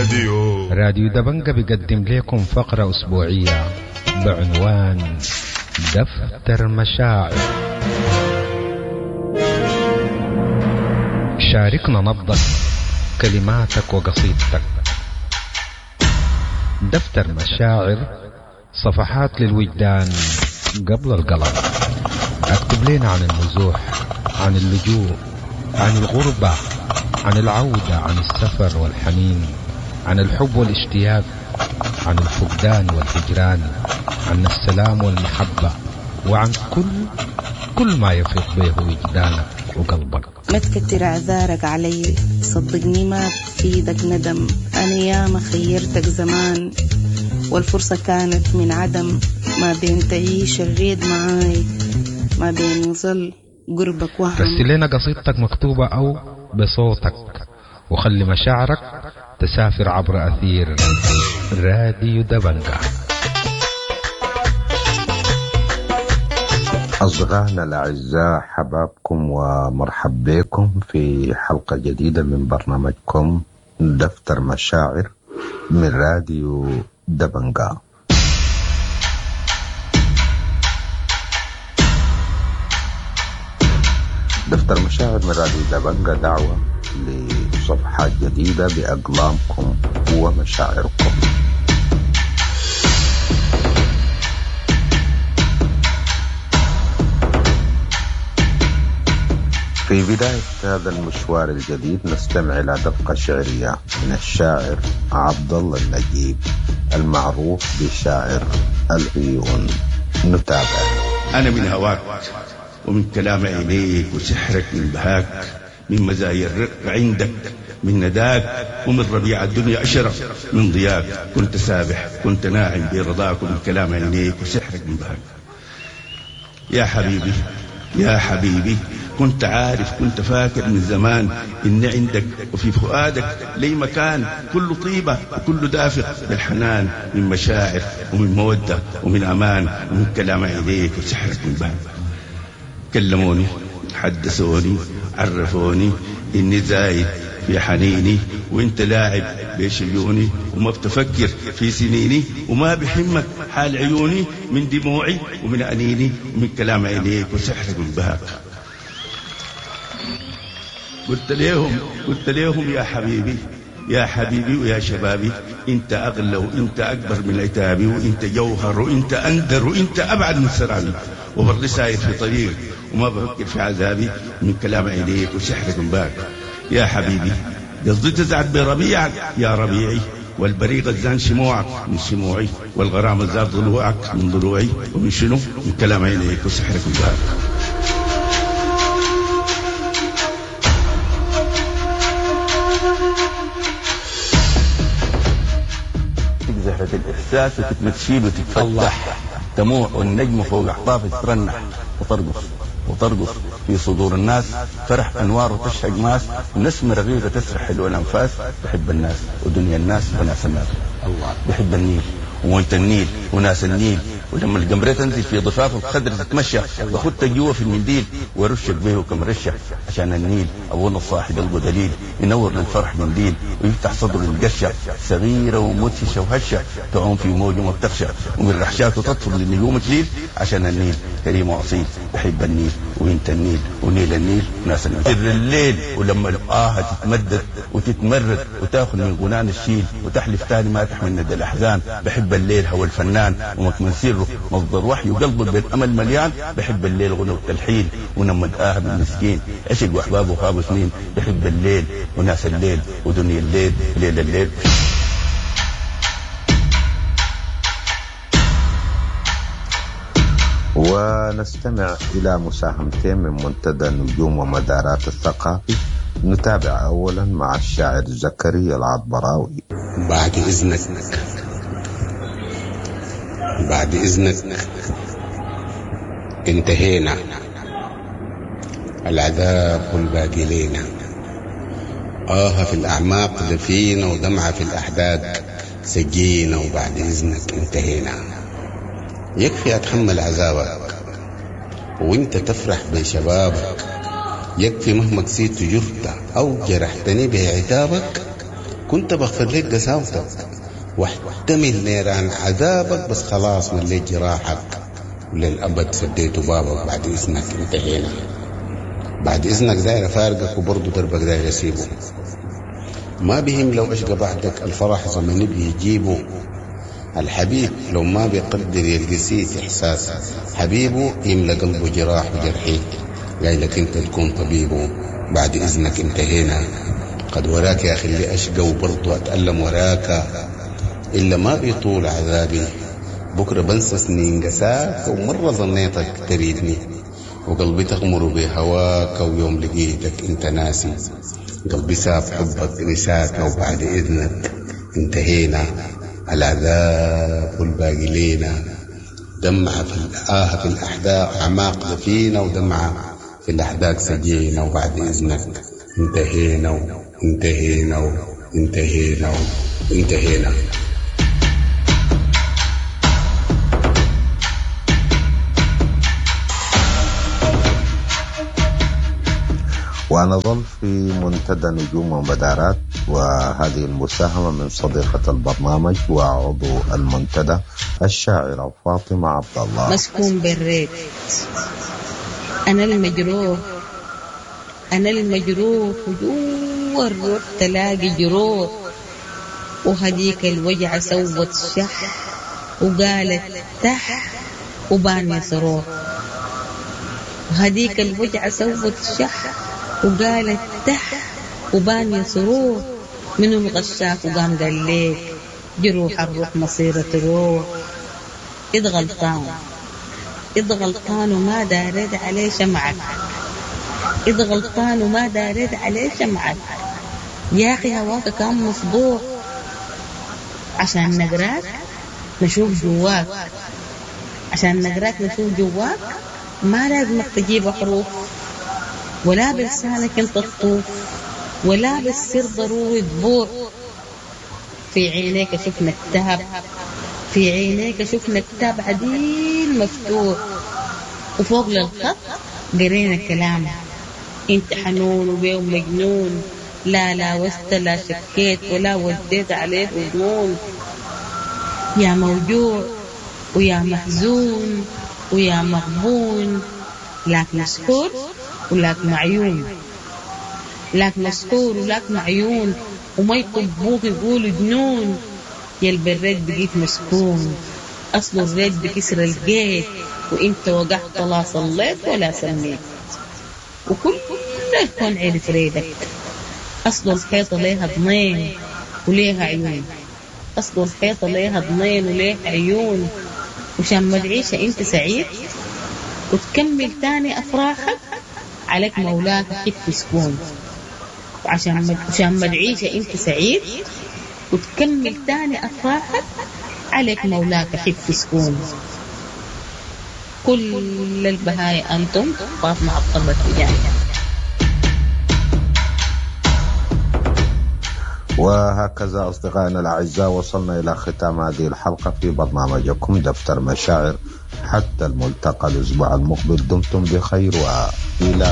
راديو. راديو دبنجة بيقدم لكم فقرة أسبوعية بعنوان دفتر مشاعر. شاركنا نبضك، كلماتك وقصيدتك. دفتر مشاعر، صفحات للوجدان قبل القلم. اكتب لنا عن النزوح، عن اللجوء، عن الغربة، عن العودة، عن السفر والحنين، عن الحب والاشتياق، عن الفقدان والهجران، عن السلام والمحبة، وعن كل ما يفيض به وجدانك وقلبك. ما تكتر اعذارك علي، صدقني ما بفيدك ندم. انا ياما خيرتك زمان والفرصة كانت من عدم. ما بين تعيش الريد معاي، ما بين يظل قربك وهم. رسل لنا قصيدتك مكتوبة أو بصوتك، وخلي مشاعرك تسافر عبر أثير راديو دبنجة. أصدقائنا الأعزاء، حبابكم ومرحب بكم في حلقة جديدة من برنامجكم دفتر مشاعر من راديو دبنجة. دفتر مشاعر من راديو دبنجة دعوة لصفحات جديدة بأقلامكم ومشاعركم. في بداية هذا المشوار الجديد نستمع إلى دقة شعرية من الشاعر عبد الله النجيب المعروف بشاعر العيون. نتابع. أنا من هواك ومن كلام عينيك وسحرك من بهاك، من مزايا الرق عندك، من نداك ومن ربيع الدنيا أشرف من ضياك. كنت سابح كنت ناعم برضاك ومن كلام عينيك وسحرك من بهاك. يا حبيبي يا حبيبي، كنت عارف كنت فاكر من زمان إن عندك وفي فؤادك لي مكان، كل طيبة وكل دافق بالحنان، من مشاعر ومن مودة ومن أمان ومن كلام عينيك وسحرك من بهاك. كلموني حدثوني عرفوني إني زايد في حنيني، وإنت لاعب بشجوني وما بتفكر في سنيني، وما بحمك حال عيوني من دموعي ومن أنيني ومن كلام عينيك وسحرك من بهاك. قلت لهم يا حبيبي يا حبيبي ويا شبابي، انت اغلى وانت اكبر من عتابي، وانت جوهر وانت اندر وانت ابعد من سرابي، وبرضي ساير في طريق وما بفكر في عذابي من كلام عينيك وسحرك من باك. يا حبيبي قصدي تزعد بربيعك يا ربيعي، والبريق الزان شموعك من شموعي، والغرام الزاد ضلوعك من ضلوعي، ومن شنو؟ من كلام عينيك وسحرك من باك. زهرة الإحساس وتتمشيل وتتفتح، تموع والنجم فوق أحطاف ترنح، وترقص وترقص في صدور الناس، فرح أنوار وتشهق ماس، ونسمة رغيغة تسرح حلو الأنفاس. بحب الناس ودنيا الناس وناس الناس، الله بحب النيل وموية النيل وناس النيل، ولما القمرة تنزل في ضفاف الخضر تتمشى، باخدها جوا في المنديل وارشك به كم رشه، عشان النيل ابونا الصاحب قلبه دليل، ينور للفرح منديل ويفتح صدره للقشه، صغيره ومدهشه وهشه، تعوم في موج وما بتخشى، ومن رحشاته تطفر للنجوم تليل، عشان النيل كريم واصيل. بحب النيل وانت النيل ونيل النيل وناس النيل. سر الليل ولما الآه تتمدد وتتمرد وتاخذ من غنان الشيل وتحلف تاني ما تحمل ندى الاحزان. بحب الليل هو الفنان ومكمن سره مصدر وحي وقلبه بالامل مليان. بحب الليل غنى وتلحين ونمد آه بالمسكين، عشق واحبابه خابوا سنين. بحب الليل وناس الليل ودنيا الليل ليل الليل. ونستمع إلى مساهمتين من منتدى نجوم ومدارات الثقافي. نتابع أولا مع الشاعر زكريا العطبراوي. بعد إذنك بعد إذنك انتهينا، العذاب والباقي لينا، آه في الأعماق دفينا ودمعة في الأحداق سجينا، وبعد إذنك انتهينا. يكفي أتحمل عذابك وانت تفرح بشبابك، يكفي مهما كسيت جرت أو جرحتني بعتابك، كنت بغفر لك قساوتك واحتمل نيران عذابك، بس خلاص مليت جراحك وللأبد سديت بابك. بعد إذنك انتهينا، بعد إذنك داير أفارقك وبرضو دربك داير أسيبه. ما بهم لو أشقى بعدك، الفرح زمني بيجيبه. الحبيب لو ما بيقدر يلقى إحساس حبيبه يملأ قلبه جراح وجرحي، قايلك انت تكون طبيبه. بعد إذنك انتهينا، قد وراك يا أخي اللي أشقى وبرضو أتألم وراك، إلا ما بيطول عذابي بكرة بنسى سنين قساك. ومرة ظنيتك تريدني وقلبي تغمر بهواك، ويوم لقيتك انت ناسي قلبي ساب حبك نساك. وبعد إذنك انتهينا، العذاب والباقي لينا. دمعة في الآه في الأحداق أعماق دفينة، ودمعة في الأحداق سجينة. وبعد إذنك انتهينا انتهينا انتهينا انتهينا. ونظل في منتدى نجوم ومدارات، وهذه المساهمة من صديقة البرنامج وعضو المنتدى الشاعرة فاطمة عبد الله. مسكون بالريت، أنا المجروح، أنا المجروح جوا الروح تلاقي جروح، وهديك الوجع سوت شح وقالت تح وبان صروح. وهديك الوجع سوت شح وقالت تح وبان صروح. من الغشاك وقام قال ليك جروح الروح مصيرة تروح. إذ غلطان، إذ غلطان وما داريت عليه شمعك، إذ غلطان وما داريت عليه شمعك. يا أخي هواك كان مصدوع، عشان نقراك نشوف جواك، عشان نقراك نشوف جواك. ما لازمك تجيب حروف، ولا بلسانك انت تطوف، ولا بالسر ضروري تبوح. في عينيك شفنا كتاب، في عينيك شفنا كتاب عديل مفتوح، وفوق للخط قرينا كلام. انت حنون وبيه مجنون، لا لا وست لا شكيت ولا وديت عليه ظنون. يا موجوع ويا محزون ويا مغبون، لاك مسحور ولاك معيون، لاك مسحور ولاك معيون، وما يطبوك يقولوا جنون. يا البريد بقيت مسكون، أصل الريد بكسر الجيت، وانت وقعت لا صليت ولا سميت، وكل الكون عرف ريدك. أصل الحيطة ليها ضنين وليها عيون، أصل الحيطة ليها ضنين وليها عيون. وشان ما تعيش انت سعيد وتكمل تاني أفراحك، عليك مولاك حب سكون. وعشان ما تعيش انت سعيد وتكمل تاني أفراحك، عليك مولاك حب سكون. كل البهاية أنتم. فاطمة عبد الله التجاني. وهكذا أصدقائنا الأعزاء وصلنا إلى ختام هذه الحلقة في برنامجكم دفتر مشاعر. حتى الملتقى الأسبوع المقبل، دمتم بخير وإلى